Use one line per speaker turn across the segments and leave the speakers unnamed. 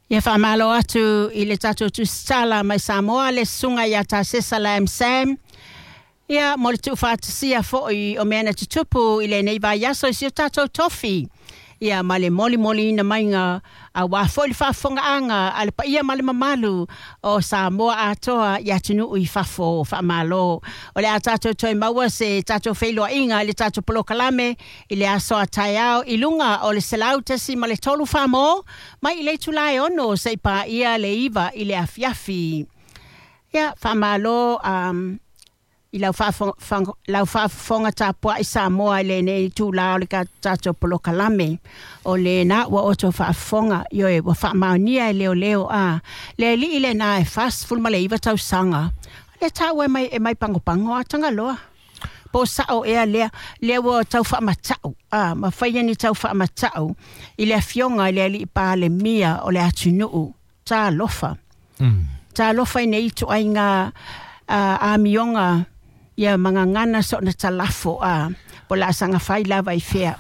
Ia faamalo atu i le tatou tusitala mai Samoa le susuga ia Tasesa Lam Sam. Ia mo le tuufaatasia foi o mea na tutupu i lenei vaiaso i si o tatou tofi. Ia ma le molimoliina maiga auā foi le faafofogaaga a le paia ma le mamalu o Samoa atoa i atunuu i fafo. Faamalo. O le a tatou toe maua se tatou feiloaiga i le tatou polokalame i le aso a taeao i luga o le 100.3 Samoa mai i le itula e 6 seia paia le 9 i le afiafi. Ia, faamalo i lau faafofoga tapuai Samoa i lenei itulā o le tatou polokalame. O lena ua outou faafofoga, ioe, ua faamaonia e leoleo a le alii lena e 49 tausaga. O lea taua e mai pagopago a Tagaloa. Po o sao ea lea, lea ua tau faamatau, a, ma faia ni tau faamatau i le afioga i le alii Palemia o le atunuu. Talofa. Talofa i nei ituaiga amioga ia magagana soona talafo a po o le a saga fai lava i fea.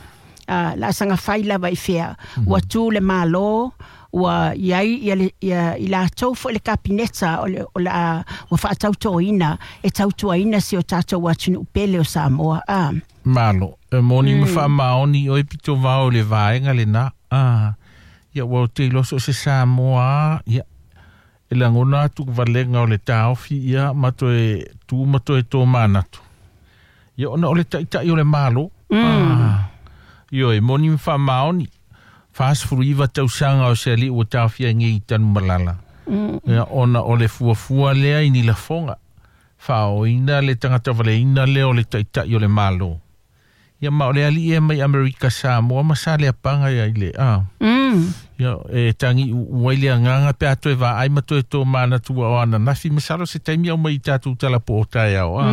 La a saga fai lava i fea. Ua tu le Malo, ua i ai ia, ia, i latou foi le Kapeneta o le a ua faatautoina e tautuaina si o tatou atunuu pele o Samoa. A.
Malo, e moni ma faamaoni oe pito vao le vaega lena. Ah, ia ua te iloa so o se Samoa, ia, e lagona atu valega o le taofi ia ma toe tu ma toe tō manatu. Ia ona o le ta'ita'i o le Malo. Ah, ioe, moni ma faamaoni. 49 tausaga o se alii ua taofia ai nei i Tanumalala. Ia ona o le fuafua lea i ni lafoga. Faaoina le tagata valeina lea o le ta'ita'i o le Malo. Ia ma o le alii e mai Amerika Samoa ma Saleapaga ia i le a. Ia e tagi uai le agaga pe a toe vaai ma toe tō manatu ua o ananafi masalo se taimi au mai i tatou tala po o taeao. A.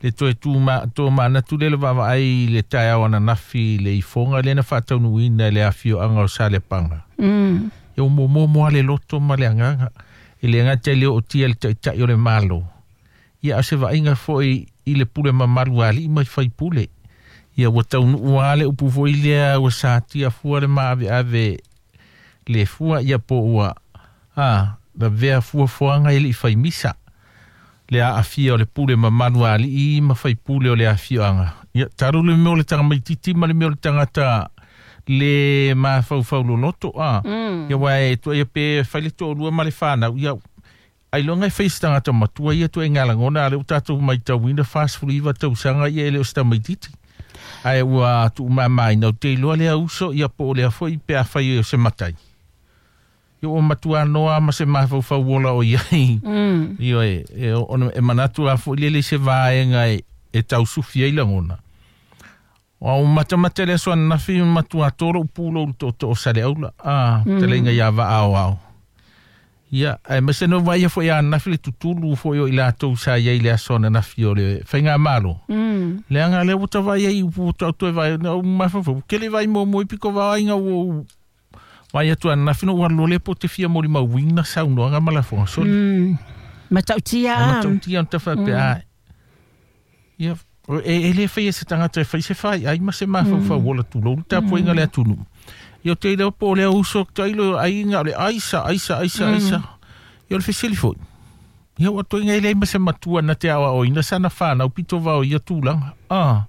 Le toe tū ma, tō manatu le le vaavaai i le taeao ananafi le ifoga lea na faataunuuina i le afioaga o Saleapaga. Ia ua momomo le loto ma le agaga. E le gata i le ootia le ta'ita'i o le Malo. Ia a o se vaaiga foi i le pule mamalu a alii ma faipule. Ia ua taunuu lava le upu foi lea ua satia fua le maaveave le fua ia po ua a lavea fuafuaga e lei faimisa. Le aafia o le pule mamalu a alii ma faipule o le afioaga. Ia talu le mea o le tagamaitiiti ma le mea o le tagata le mafaufau loloto a. Ia aua e tuaia pe fai le toalua ma le fanau ia ailoga e fai se tagata matua ia tuaiga lagona a lea ua tatou matauina 49 tausaga ia e le o se tamaitiiti. Ae ua tuumamaina o te iloa lea uso ia po o lea foi pe afai o se matai. Ia ua matua noa ma se mafaufau ola o iai. Ioe, e, ona e manatu a foi lele se vaega e tausufi ai lagona. O matamata le aso ananafi matua tolo upu lou tootoo o Saleaula. A, taleiga ia vaa Ia, ae maise no vaia foi ananafi le tutulu foi o i latou sa iai le aso ananafi o le faigamalo. Leaga lea ua tavai ai upu ua toe vai na o mafaufau. Kele vai mo mo i piko vaaiga ua vai atu ananafi no ua alu loa lea po o te fia molimauina saunoaga ma lafoga soli.
Matautia
a. Matautia ona faapea ai. Ia, e le faia e se tagata e fai se faiai ma se mafaufau ola tulou le tapuaiga a le atunuu. Ia o te iloa po o lea uso tailo aiga o le aisa, aisa, aisa, aisa. Ia o le fesili foi. Ia ua toiga e leai ma se matua na te aoaoina sana fanau pito vao i ia tulaga. Ah,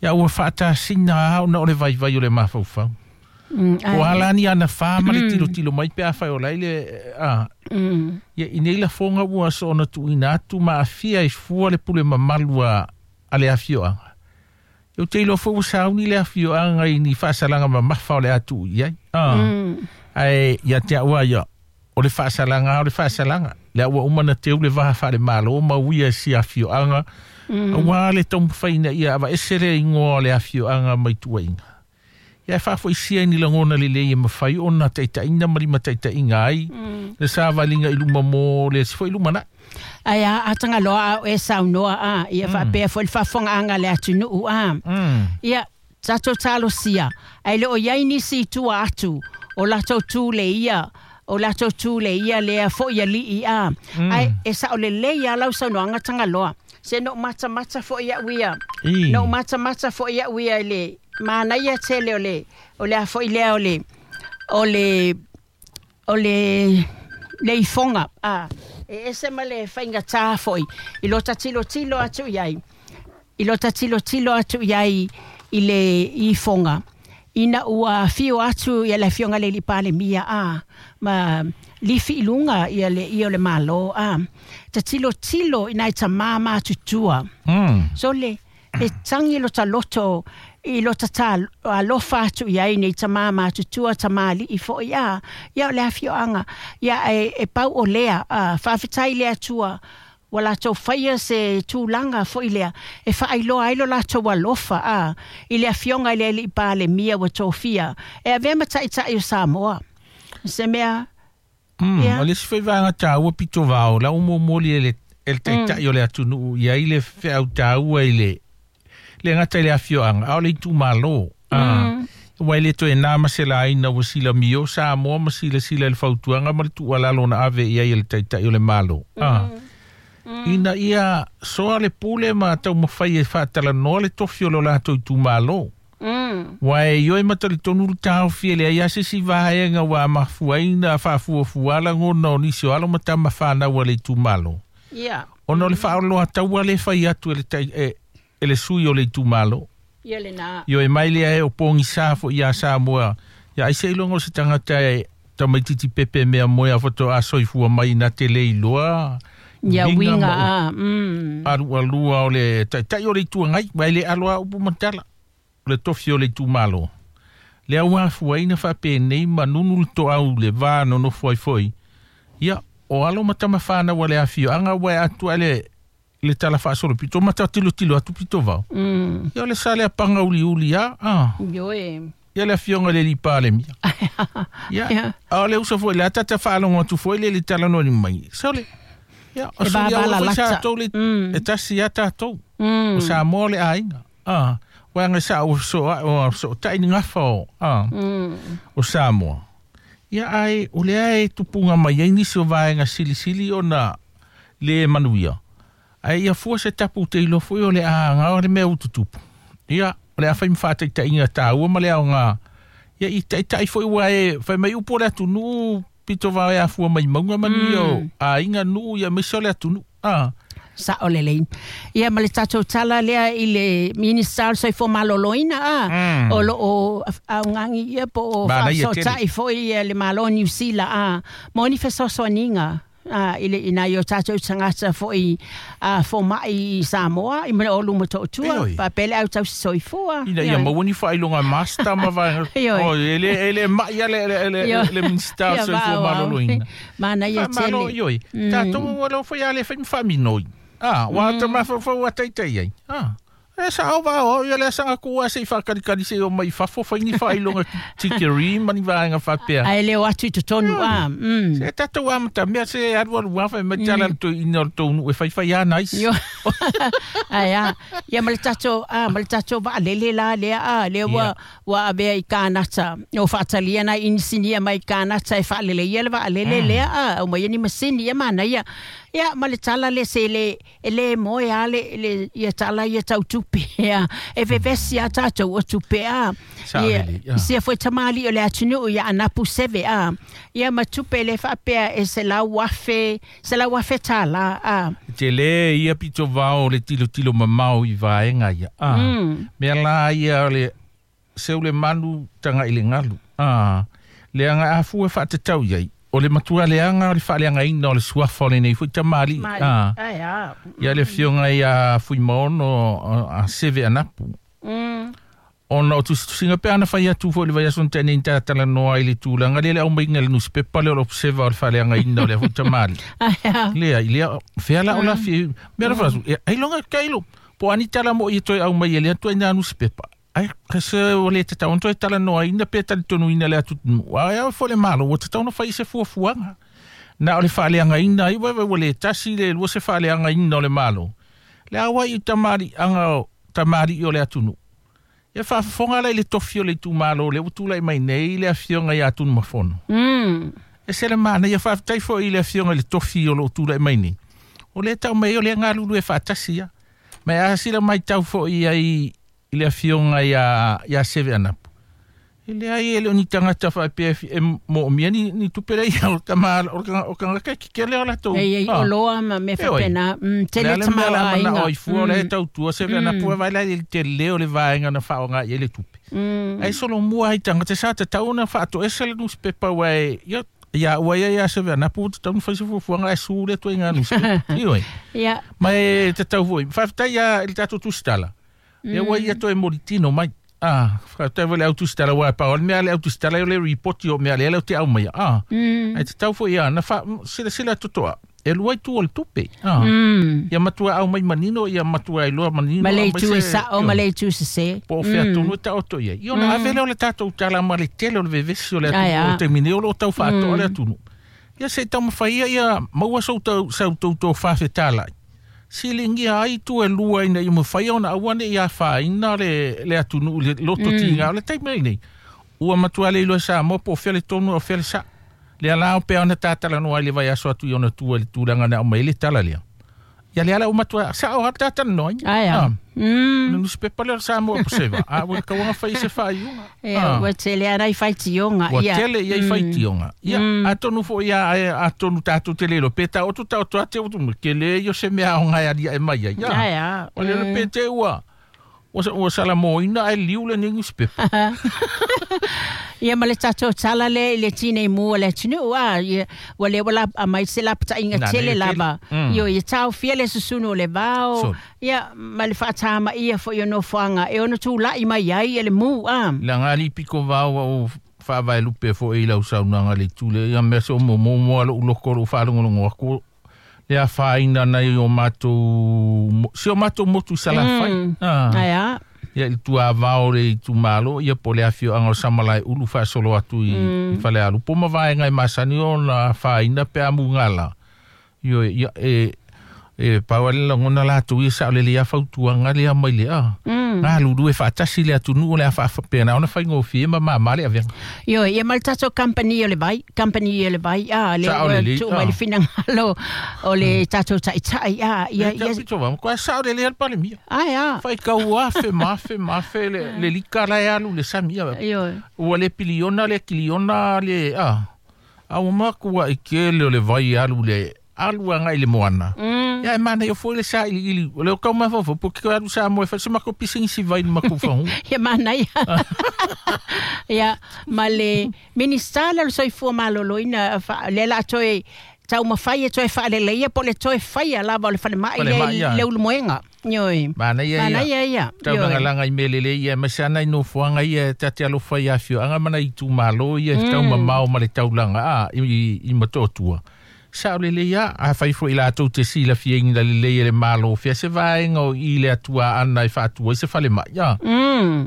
ia ua faatasina lava ona o le vaivai o le mafaufau. O a la ni ana fa ma le tilotilo mai pe afai o la i le a. Ia i nei lafoga ua soona tuuina atu ma aafia ai fua le pule mamalu a le afioaga. Ia ou te iloa foi ua sauni le afioaga i ni faasalaga mamafa o le a tuu i ai. A. Ae ia te au lava ia, o le faasalaga lava o le faasalaga. Lea ua uma ona teu le va faale-Malo ma uia e si afioaga, auā le taumafai ina ia aveese le igoa o le afioaga mai tuuaiga. Ia e faafoisia i ni lagona lelei e mafai ona taitaiina ma limataitaiina ai le savaliga i luma mo le isi foi lumanai.
Ae a Atagaloa a o e saunoa a, ia faapea foi le faafofogaaga a le atunuu a. Ia, tatou talosia, ae le o i ai nisi i tua atu o latou tu le ia, o latou tu le ia lea foi alii a. Ae e sao lelei lava lau saunoaga Tagaloa. Se no matamata foi au ia. No matamata foi au ia i le manaia tele o le a foi lea o le o le ifoga a e ese ma le faigatā foʻi i lo tatilotilo atu i ai i lo tatilotilo atu i ai i le ifoga ina ua afio atu ia le afioga le alii Palemia a ma lifi i luga ia le ia o le Malo a tatilotilo ina e tamā matutua. So le e tagi lo taloto i lo tata alofa atu i ai nei tamā matutua tamalii foʻi a ia o le afioaga ia e pau o lea a faafetai le Atua ua latou faia se tulaga foʻi lea e faailoa ai lo latou alofa a i le afioga i le alii Palemia ua tofia e avea ma taʻitaʻi o Samoa se mea.
O le isi foi vaega tāua pito vao la umuamuli e le taʻitaʻi o le atunuu ia i le feau tāua i le le gata i le afioaga a o le itumālō. Ua e le toe nā ma se laina ua silamio Samoa ma silasila i le fautuaga ma le tuualalo na ave i ai e le taʻitaʻi o le Malo. Ina ia soa le pule ma taumafai e faatalanoa le tofi o lo latou itumālō. Ua e ioe matalitonu le taofi e leai a se isi vaega ua mafuaina faafuafua lagona o nisi o alo ma tama fanau a le itumālō. Ona o le faaoloa taua le fai atu e le sui o le itumālō.
Ia le nā.
Ioe mai lea e o pogisā foʻi iā Samoa. Ia ai se iloga o se tagata e tamaititi pepe mea moe a fatoa soifua mai na te le iloa.
Ia uiga a.
Alualua o le taʻitaʻi o le ituagai. Ua e le aloa upu matala. O le tofi o le itumālō. Le au afuaina faapenei ma nunu le toau le va nonofo ai foi. Ia o alo ma tama fanau a le afioaga ua e atu ai le tala faasolo pito ma tatilotilo atu pito vao. Ia o le sa lea paga uliuli a.
Ioe.
Ia le afioga le alii Palemia. Ia a o le uso foi le atata faalogo atu foi le le talanoa mai. Sa le ia o sa ia sa tou le e tasi ia tatou. O Samoa le aiga. Ua sa o so o so tai ni gafa o o Samoa. Ia ai o le ai tupunga mai ai nisi o vaega silisili ona le manuia. Ai ia fua se tapu te ilo foi o le aaga o le mea ututupu. Ia o le afai mafaataitaʻiga tāua ma le aoga. Ia i taʻitaʻi foi ua e fai mai upu o le atunuu pito vao e afua mai mauga manuia o aiga nuu ia maise o le atunuu.
Sao lelei. Ia ma le tatou tala lea i le Minista o le Soifua Maloloina a o loo augagi ia po o faasotaʻi foʻi le Malo o Niu Sila a mo ni fesoasoaniga i le ina i o tatou tagata foʻi fomaʻi i Samoa i ma le o luma tootua faapea le au tausi soifua.
Ina ia maua ni faailoga master ma vaega. O e le maʻi a le Minista o le Soifua Maloloina.
Manaia tele.
Ioe. Tatou ua lo foi a le fai ma faaminoi. Ua ta mafaufau a taitai ai. E sa o vao ia le sanga ku se i faakalikali se o mai fafo fai ni faailoga tikeri ma ni vaega faapea.
Ae le o atu i totonu a.
Se tatou amata mea se alualu afa e mai tala ina o le tounuu e faifai a nais.
Ai a. Ia ma le tatou ma le tatou vaalele la lea a lea ua avea i Kanata. O faatalia nai inisinia mai Kanata e faaleleia le vaalele lea a au mai ni masini ia manaia. Ia ma le tala le se le e le moe a le ia tala ia tautupe ia e vevesi a tatou o tupe a ia sia foi tamali o le atunuu ia anapu seve a ia ma tupe le faapea e se lau afe tala a
te le ia pito vao le tilotilo mamao i vaega ia a mea la ia le seu le manu tagaʻi le galu a le aga afua faatatau iai o le matua leaga o le faaleagaina o le suafa o lenei foi tamaliʻi ia le afioga ia Fuimaono a Seve Anapu. Ona o tusitusiga pe ana fai atu foi le vaiaso na teʻa nei tatalanoa i le tulaga lea le aumaiga le nusipepa lea o le observa o le faaleagaina o lea foi tamaliʻi. Lea i lea fea la o lafi mea la faasu ai loga kailo po ani tala mo i toe aumai e lea tuaiga nusipepa. Ai se o le tatau ona toe talanoa ina pe talitonuina le atu ai au fo le Malo ua tatau ona fai se fuafuaga. Na o le faaleagaina ai ua le tasi le lua se faaleagaina o le Malo. Le auai i tamaliʻaga o tamaliʻi o le atunuu. Ia faafofoga la i le tofi o le itumālō le ua tulai mai nei le afioga ia Tunumafono. E se le manaia faafetai foi i le afioga i le tofi o loo tulai mai nei. O le tau mai o le galulu e faatasi ia. Ma a sila mai tau foi ai i le afioga ia Seve Anapu. E leai e le o ni tagata faapea e moomia ni tupe lea ia o tama o tagata kekele o latou.
Ei oloa ma mea faapena. Tele tamaoaiga.
O i fua o lea e tautua se vea na pua vai la i le tele o le vaega na faaaoga i ai le tupe. Ae solomua ai tagata sa tatau ona faatoese le nusipepa ua e ia ia ua ia ia se vea na pua tatau ona fai se fuafuaga ae su le ituaiga nusipepa. Ioe. Ma e tatau foi. Faafetai ia i le tatou tusitala. Ia ua ia toe molitino mai. Ah, faafetai foi le autusitala ua pau o le mea le autusitala o le ripoti o mea lea leo te au mai. Ah, ai te tau foi ia na fa silasila totoa. E lua itu o le tupe. Ah. Ia matua au mai manino, ia matua iloa manino.
Ma le itu e sa'o, ma le itu sesē.
Po o fea tonu e taoto i ai. Ia ona ave lea o le tatou tala ma le tele o le vevesi o le atunuu o le taimi nei o lo o tau faatoa le atunuu. Ia se i taumafai ia ia maua sou tau sau tou tofa fetalai. Siligia ai itu e lua ina ia mafai ona aua ne i afaina le atunuu i le loto tiga o le taimi lenei. Ua matua le iloa e Samoa po o fea le tonu a o fea le saʻo. Lea la pea ona tatalanoa ai le vaiaso atu i ona tua i le tulaga na aumai ai le tala lea. Ia lea la ua matua saʻo lava le talatalanoaina.
Ae a.
O le nusipepa lea o le Samoa Observer, a ua tauaga fai se faaiuga.
Ia, ua tele lava nai faitioga.
Ua tele i ai faitioga. Ia, atonu foi ia, atonu tatou te le iloa, pe taoto taoto atu te tele ia o se mea aoga e aliae mai ai.
Ae a.
O le pe te ua ua salamoina ae liu lenei nusipepa.
Ia ma le tatou tala lea i le tinei mu o le atunuu a ia ua lea ua la aumai se lapataiga tele lava. Ioe, ia taofia le susunu o le vao, ia ma le faatamaia foi o nofoaga e ono tulai mai ai le mu a.
Laga alii pito vao ua ou faavaelupe foi i lau saunoaga i le itu lea, ia mea se o momomo lava lou loto o lou faalogologo atu le afaina nai o matou si o matou motu i Salafai.
Ae a.
Ia i le tuavao o le itumalo ia po o le afioaga o Samalaeulu faasolo atu i Falealupo ma vaega e masani ona afaina pe a mugala. Ioe, ia e pau lava le lagona latou ia saolelei lava fautuaga lea mai le a. Galulue faatasi le atunuu o le a faapena ona faigofie ma mama le avega.
Ioe, ia ma le tatou kamupani o le vai, kamupani o le vai, a, lea ua tuu mai le finagalo o le tatou taitai, a, ia, ia.
Pito va, matua saolelei lava le Palemia.
Ae a.
Faitau afe ma afe ma afe le lika la e alu i le sami, a.
Ioe.
Ua le piliona le kiliona le, a. A ua matua i tele o le vai e alu le alu agai i le moana. Ia e manaia foi le sailiili. O le o tau mafaufau, po o ke alu Samoa e fai se matou pisinisi vai i le matou fagua.
Ia manaia. Ia, ma le Minisita lea o le Soifua Maloloina, lea o le a toe taumafai e toe faaleleia po o le toe faia lava o le falemai lea i Leulumoega. Ioe.
Manaia ia.
Manaia ia.
Tau lagalagā i mea lelei ia, aemaise lava nai nofoaga ia ta te alofa i afioaga ma nai itumalo ia e tau mamao ma le taulaga a i Motootua. Sao lelei lava, afai foi latou te silafiaina lelei e le Malo o fea se vaega o i le atuaana e faatu ai se falemai, a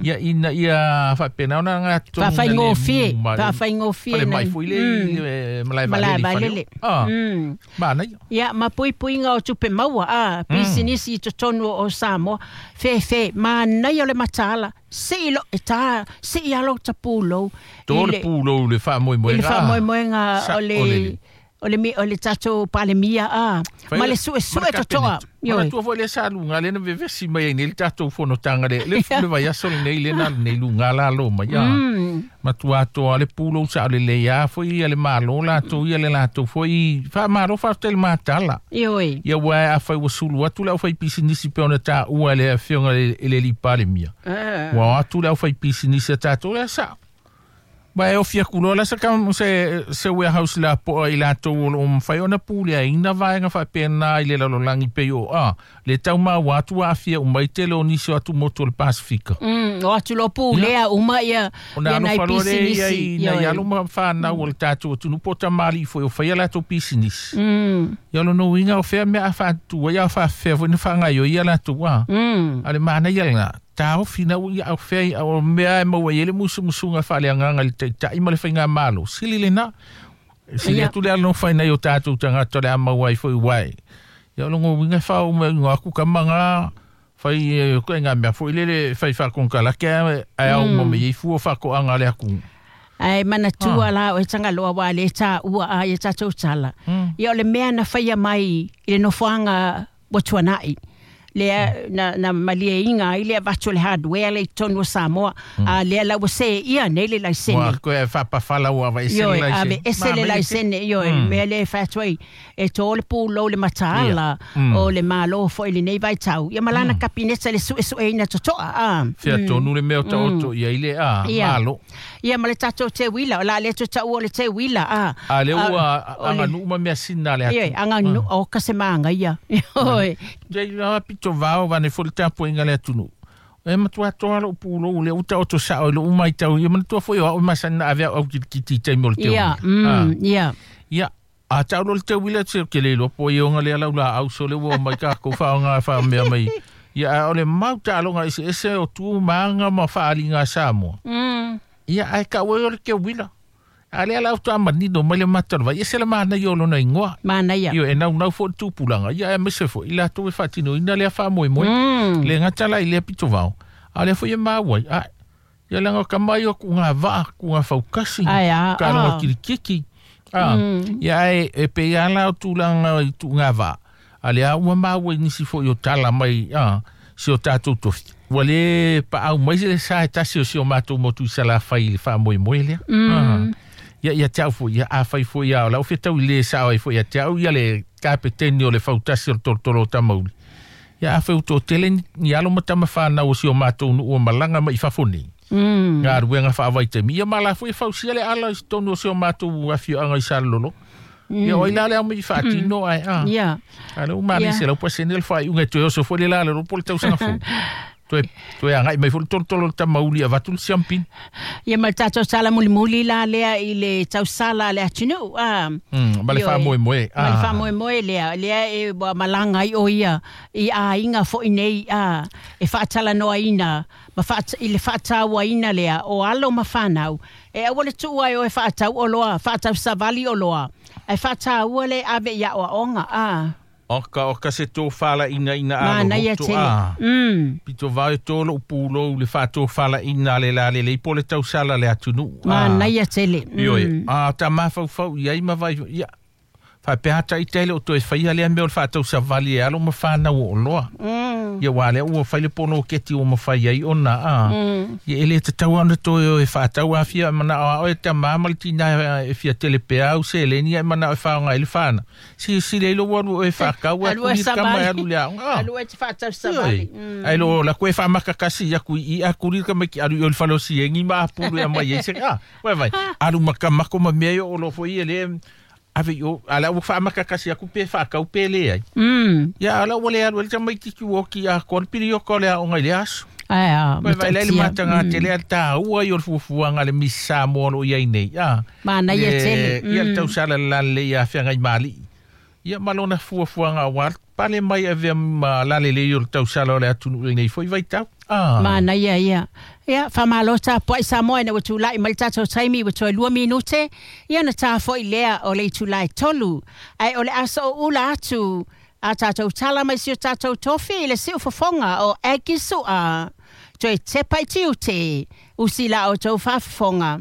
ia ina ia faapena ona gatonu
Faafaigofie, faafaigofie
falemai foi le i le malae vaalele i Faleolo. A, manaia.
Ia, ma puipuiga o tupe maua, a, pisinisi i totonu o Samoa, fefe, manaia o le mataala, sii lo, e tā, sii lava lota pulou.
To le pulou i le faamoemoega.
I le faamoemoega o le O le o le tatou Palemia a, ma le suesue totoa.
Ioe. Manatua foi lea sa luga lea na vevesi mai ai nei le tatou fonotaga le le le vaiaso lenei lea na alu nei luga lalo mai a. Matua atoa le pulou saolelei a foi ia le Malo latou ia le latou foi faamalo faafetai i le matala.
Ioe.
Ia aua afai ua sulu atu le aufaipisinisi pei ona taua e le Afioga i le Alii Palemia. Ua o atu le aufaipisinisi a tatou lea sao. Ma e ofi atu loa la se, se, se warehouse lapoa i latou o lo o mafai ona puleaina vaega faapena i le lalolagi pei o a le tau maua atu ua aafia uma ai tele o nisi o atu motu o le Pasifika.
O atu loa pulea uma ia,
Ona
ia nai
alofa loa lea ia
pisinisi.
i nai alo ma fanau o le tatou atunuu po o tamalii foi o fai a latou pisinisi. Ia o lona uiga o fea mea a faatutu ai a o faafefea foi ona faagaoioi a latou a. A o le manaia lena, taofi na ua ia au fea i au mea e maua i ai le musumusuga faaleagaga i le Taitai ma le Faigamalo. Sili lena. Sili atu le alofa i nai o tatou tagata o le a maua ai foi uae. Ia o lona uiga e faaoo mai uiga atu kama ga fai e ngā mea foi lele fai faakonekarake ae ao uma mai ai fua o faatoaga a le atunuu.
Ae manatua la o e Tagaloa ua le taua a ia tatou tala. Ia o le mea na faia mai i le nofoaga ua tuanai. Lea na malieiga ai le avatu o le hardware lea i totonu o Samoa. A lea la ua seia nei le laisene.
Ua koe faapafala ua aveese le
Ioe,
laisene.
aveese le laisene, ioe, mea lea e fai atu ai, e tō le pulou le mataala o le Malo foi i lenei vaitau, ia ma lana Kapineta i le suesueina totoa, a.
Fea tonu le mea o taoto i ai le a, Malo.
Ia ma le tatou teuila, o le a le toe taua o le teuila, a.
A lea ua aganuu ma measina a le
atu. Ioe, aganuu, oka se magaia. Ioe.
Te iloa pito vao vane foi le tapuaiga a le atunuu. E matua toa lou pulou lea ua taoto sao i lou matau ia manatua foi o au e masani na ave au au kitikiti i taimi o le teuila.
Ia,
Ia, a tau loa le teuila ou te le iloa po o ioga lea lau laau sole ua omai takou faaaoga e faamea mai. Ia, ae o le mau taaloga eseese o tu ma aga ma faaaliga a Samoa. Ia, ae tau ai o le teuila. A lea la faatoa manino mai le mata o le vai, ese le manaia o lona igoa.
Manaia.
Ioe, e naunau foi le tupulaga, ia aemaise foi i latou e faatinoina lea faamoemoe. Le gata la i lea pitovao, a o lea foi e maua ai, ae, ia leaga o tama ia o tugavaa, tugafaukasi,
Ae a,
taaloga kilikiki. A, ia ae e pei lava la o tulaga i tugavaa, a lea ua maua i nisi foi o tala mai a si o tatou tofi, ua le paau mai se sa e tasi o si o matou motu i Salafai i le faamoemoe lea. Ia, ia te au foi, ia afai foi a o lau fetau i le sao ai foi ia te au ia le kapeteni o le fautasi o le tolotolo o Tamauli. Ia afai ua toatele ni alo ma tama whanau o si o matou nuu o malaga mai i fafo nei. Galuega faavaitaimi. Ia ma la foi e fausia le ala i totonu o si o matou afioaga i Salelologa. Ia o ai la le ao mai i faatino ae a. A lea ua manaia 100% le faaiuga e toe oso foi le la le ropo le tausaga fou. Toe, toe agai mai foi le tolotolo o le tamauli e avatu le siampini.
Ia ma le tatou tala mulimuli la lea i le tausala a le atunuu, a.
Ma le
Ioe.
faamoemoe,
Ma le
a.
faamoemoe lea, lea e ua malaga ai o ia i aiga foi nei, a, e faatalanoaina ma faat, i le faatauaina lea o alo ma fanau, e aua le tuu ai o e faatau oloa, faatau savali oloa, ae faataua le ave i aoaoga, a.
Oka, oka se tofalaina ina a
Manaia
lohoto
tele.
a. Pito vao e tō lou pulou le faatofalaiga a le lalelei po o le tausala a le atunuu. A.
Manaia tele.
Ioe, a ta mafaufau i ai ma vai, ia, faapea lava ita e le o toe faia lea mea o le faatausavali e alo ma fanau o oloa. Ia aua lea ua fai le poloketi ua mafai ai ona, a, ia e le tatau lava ona toe o e faatau afia e manao lava oe e tama ma le tina e fia tele pea au seleni ae manao e faaaoga ai le fanau. Silasila ai lou alu oe e faatau ae
Alu e
kuli le tama e
savali.
alu i le aoga, a.
Alu e te faatau savali.
Ioe. Ae lo la koe faamakakasi aku i i a kuli le tamaiti alu i o i le fale o Siegi ma apulu e aumai ai se, a, uai vai, alu ma kamako ma mea ia o lo foi e le ave i o, a la ua faamakakasi aku pe faakau pe leai. Ia, a la ua le alu ai le tamaititi ua oki atoa le pilioka o le aoga i le aso.
Ae a,
Koe vai lai le
matautia.
mataga tele a le tāua i o le fuafuaga a le Miss Samoa o lo o i ai nei, a.
Manaia
Le,
tele.
ia le tausala lalelei ia Feagaimali'i. Ia ma lona fuafuaga aua le pale mai avea ma lalelei o le tausala o le atunuu i lenei foi vaitau. A.
Manaia ia. Ia, faamalo tapuai Samoa ina ua tulai mai le tatou taimi ua toe lua minute, ia ona ta foi lea o le itula e tolu. Ae o le aso o ula atu a tatou tala mai si o tatou tofi i le siufofoga o Aggie Sua. Toe tepa i tiute, usi la outou faafofoga.